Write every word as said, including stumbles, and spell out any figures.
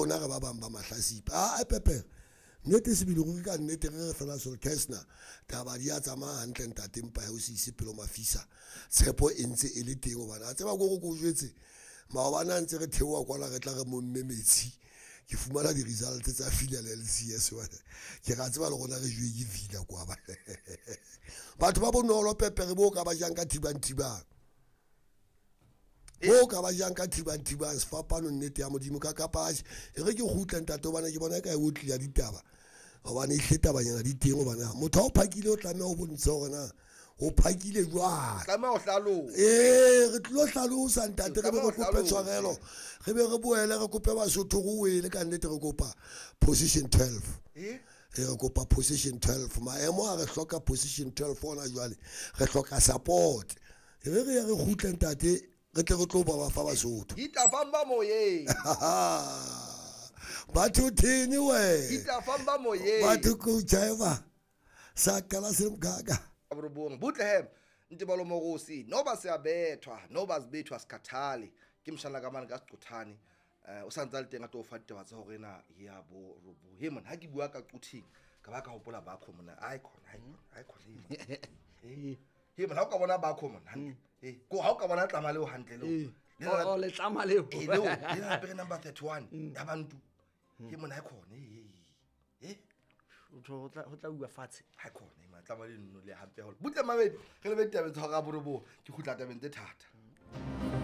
rona re ba bang ba mahlasipa a a pepere nnete sebele ruri ka nnete re re fela Sol Kesner taba di a tsamaya hantle ntate mpa ya o se ise pelo mafisa tshepo e ntse e le teng hobane a tseba ko re ko jwetse maobane a ntse re theoha kwana re tla re momme metsi ke fumana di-results tsa Villa le L C S bana. Ke ra tseba le rona re jowe ke Villa kwa ba batho ba bonolo pepere bo ka ba jang ka thibang thibang bo ka ba jang ka thibang thibang sefapano nnete ya modimo ka kapatjhe e re ke kgutle ntate hobane ke bona e ka e otli ya ditaba hobane ehlile tabanyana di teng hobane motho ha o phakile o tlameha o bontshe hore na o phakile jwang. Tlameha ho hlalosa. Ee, re tlilo hlalosa ntate re be re Tlameha ho kope hlalosa. Tshwarelo re be re boele re kope Basotho re wele ka nnete re kopa position twelve. Eh? E re kopa position twelve maemo a re hloka position twelve hona jwale re hloka support e re re ye re kgutle ntate re tle re tlo ba ba fa Basotho. Ditafang ba moyeng. Batho thini we. Ditafang ba moyeng. Batho kujaiva saqala semkaka. Borobong butle he Ntebalo Mogosi noba siyabethwa noba sibethwa sikhathali ke mshana ka mane ka Seqothane eh o santse a le teng a tlo fa ditaba tsa hore na ya bo robo he man ha ke bua ka Quthing ka ba ka hopola bakho mona ai khona ai khona ai khona he he man ha o ka bona bakho mona hantle eh ko ha o ka bona tlama leo hantle leo. Ee. Le la- Oh, oh, letlama leo. Eh, leo le la apere number thirty-one ya bantu he mona ai khona eh eh Ho tho- ho tla ho tla uwa fatshe. Ha khona e matlama le nno le hampe haholo butle mamedi re lebe ditabeng tsa hora ya borobong ke kgutla tabeng tse thata.